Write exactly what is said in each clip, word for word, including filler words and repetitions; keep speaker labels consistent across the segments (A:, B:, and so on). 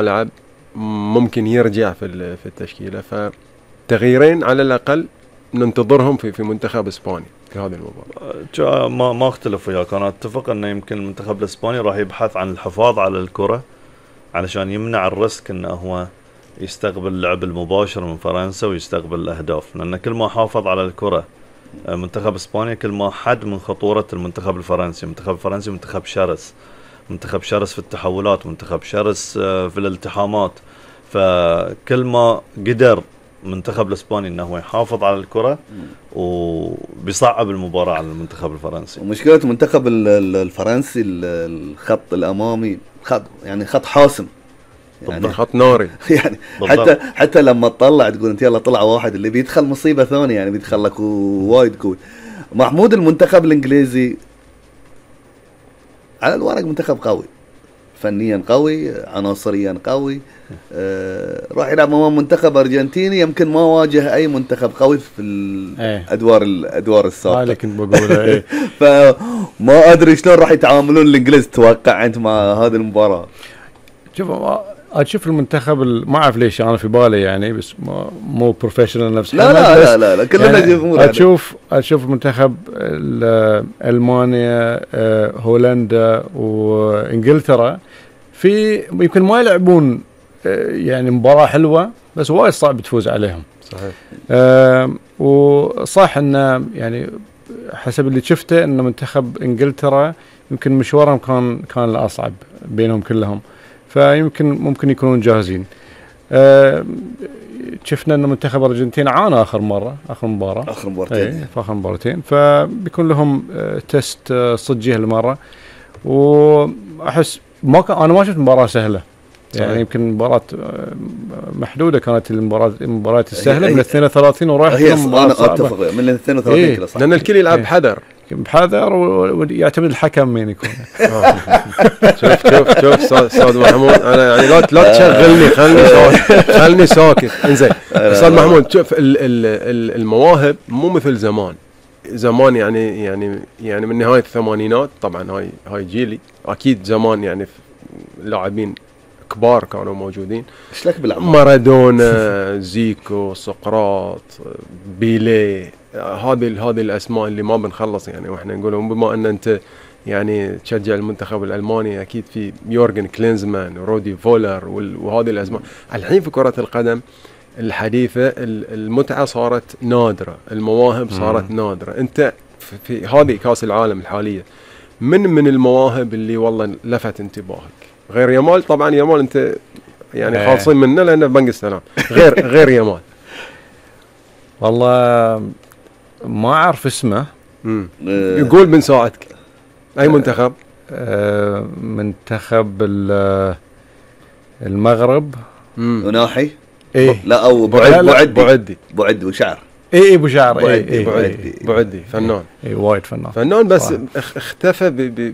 A: لعب ممكن يرجع في في التشكيلة، فتغييرين على الأقل ننتظرهم في في منتخب إسبانيا في هذه المباراة.
B: ما ما اختلف وياك، أنا أتفق أنه يمكن المنتخب الإسباني راح يبحث عن الحفاظ على الكرة علشان يمنع الريسك أنه هو يستقبل اللعب المباشر من فرنسا ويستقبل الأهداف، لأن كل ما حافظ على الكرة منتخب إسبانيا كل ما حد من خطورة المنتخب الفرنسي. المنتخب الفرنسي منتخب شرس، منتخب شرس في التحولات، منتخب شرس في الالتحامات، فكل ما قدر منتخب الإسباني أنه يحافظ على الكرة وبيصعب المباراة على المنتخب الفرنسي.
C: ومشكلة المنتخب الفرنسي الخط الأمامي خط يعني خط حاسم،
A: يعني خط ناري
C: يعني حتى حتى لما تطلع تقول انت يلا طلع واحد اللي بيدخل مصيبة ثانية، يعني بيدخل لك وايد قوي. محمود المنتخب الإنجليزي على الورق منتخب قوي، فنيا قوي، عناصريا قوي، آه راح يلعب امام منتخب ارجنتيني يمكن ما واجه اي منتخب قوي في الادوار الادوار السابقه.
A: هاي كنت بقولها ايه.
C: فما ادري شلون راح يتعاملون الانجليز، توقع انت مع هذه المباراه؟
D: شوف اشوف المنتخب ما اعرف ليش انا في بالي يعني، بس مو بروفيشنال نفس
C: لا لا, لا لا لا كلنا
D: يعني اشوف اشوف منتخب المانيا، هولندا وانجلترا في يمكن ما يلعبون يعني مباراة حلوة، بس وايد صعب تفوز عليهم.
A: صحيح.
D: أه وصح انه يعني حسب اللي شفته ان منتخب انجلترا يمكن مشوارهم كان كان الاصعب بينهم كلهم، فيمكن ممكن يكونون جاهزين. أه شفنا ان منتخب الارجنتين عانى اخر مره اخر مباراه
C: اخر مباراتين
D: ايه في اخر مباراتين، فبيكون لهم أه تست أه صجيه المره. واحس ما كان انا ما شفت مباراه سهله يعني، صحيح. يمكن مباراة محدودة كانت المباراة المباريات السهلة من اثنين وثلاثين ورايح.
C: هي أنا أتفق من اثنين وثلاثين
A: إيه؟ كلا صح، لأن الكل يلعب بحذر
D: بحذر ويعتمد الحكم مين يكون.
A: شوف شوف شوف أستاذ محمود، أنا يعني لا لا تشغلني، خلني خلني ساكت. إنزين أستاذ محمود، شوف المواهب مو مثل زمان. زمان يعني يعني يعني من نهاية الثمانينات، طبعا هاي هاي جيلي، أكيد زمان يعني لاعبين كبار كانوا موجودين، مارادونا، زيكو، سقراط، بيلي، هذه هذه الاسماء اللي ما بنخلص يعني واحنا نقولهم. بما ان انت يعني تشجع المنتخب الالماني، اكيد في يورجن كلينزمان ورودي فولر وهذه الاسماء. الحين في كرة القدم الحديثة المتعة صارت نادرة، المواهب صارت نادرة. انت في هذه كاس العالم الحالية من من المواهب اللي والله لفت انتباهك غير يامال؟ طبعا يامال انت يعني خالصين منه لانه بنك السلام، غير غير يامال.
D: والله ما اعرف اسمه.
A: امم يقول بنساعدك. اي منتخب؟
D: آه منتخب المغرب.
C: وناحي
D: ايه
C: لا او بعد بعد
A: بعدي
C: بعد وشعر.
D: اي اي ابو شعر.
A: اي اي بعدي بعدي فنان.
D: اي وايد فنان
A: فنان بس اختفى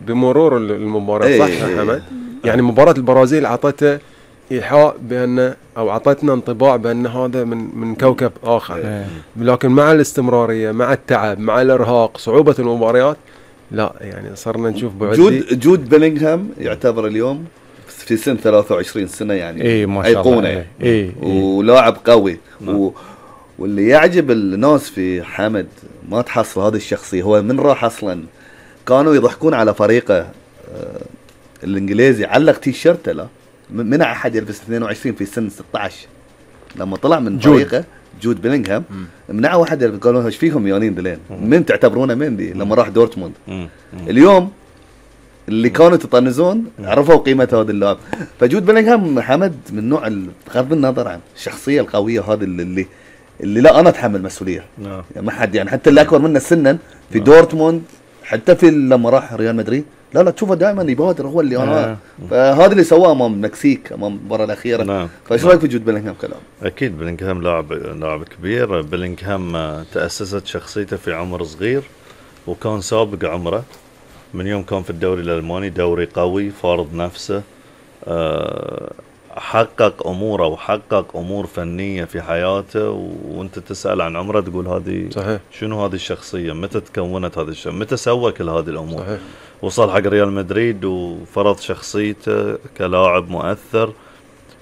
A: بمرور المباراة. صح يا حمد؟ يعني مباراة البرازيل عطته إيحاء بأن أو عطتنا انطباع بأن هذا من من كوكب آخر.
D: ايه.
A: لكن مع الاستمرارية، مع التعب، مع الإرهاق، صعوبة المباريات، لا يعني صرنا نشوف بعدي.
C: جود جود بيلينغهام يعتبر اليوم في سن ثلاثة وعشرين سنة يعني
D: ايه ما شاء الله.
C: ايه ايه ولاعب قوي. و واللي يعجب الناس في حمد ما تحصل هذه الشخصية. هو من راح أصلا كانوا يضحكون على فريقه آه الإنجليزي، علق تيشيرته لا منع أحد يلبس اثنين وعشرين في سن ستة عشر. لما طلع من فريقه جود بيلينغهام منع واحد يلبس، قالوا ايش فيهم يونين دلين من تعتبرونه من دي. لما راح دورتموند اليوم اللي كانوا يطنزون عرفوا قيمة هذا اللاعب. فجود بيلينغهام حمد من نوع بغض النظر عن الشخصية القوية هذه اللي اللي لا انا اتحمل مسؤوليه يعني ما حد يعني حتى اللي اكبر منا سنا في دورتموند، حتى في لما راح ريال مدريد لا لا تشوفه دائما يبادر، هو اللي انا فهذا اللي سواه امام المكسيك امام المباراه الاخيره. فايش رايك في جود بيلينغهام كلام؟
B: اكيد بيلينغهام لاعب لاعب كبير. بيلينغهام تاسست شخصيته في عمر صغير وكان سابق عمره من يوم كان في الدوري الالماني، دوري قوي فارض نفسه، أه حقق اموره وحقق امور فنيه في حياته. وانت تسال عن عمره تقول هذه
A: صحيح.
B: شنو هذه الشخصيه؟ متى تكونت هذه الشخصيه؟ متى سوى كل هذه الامور؟ صحيح. وصل حق ريال مدريد وفرض شخصيته كلاعب مؤثر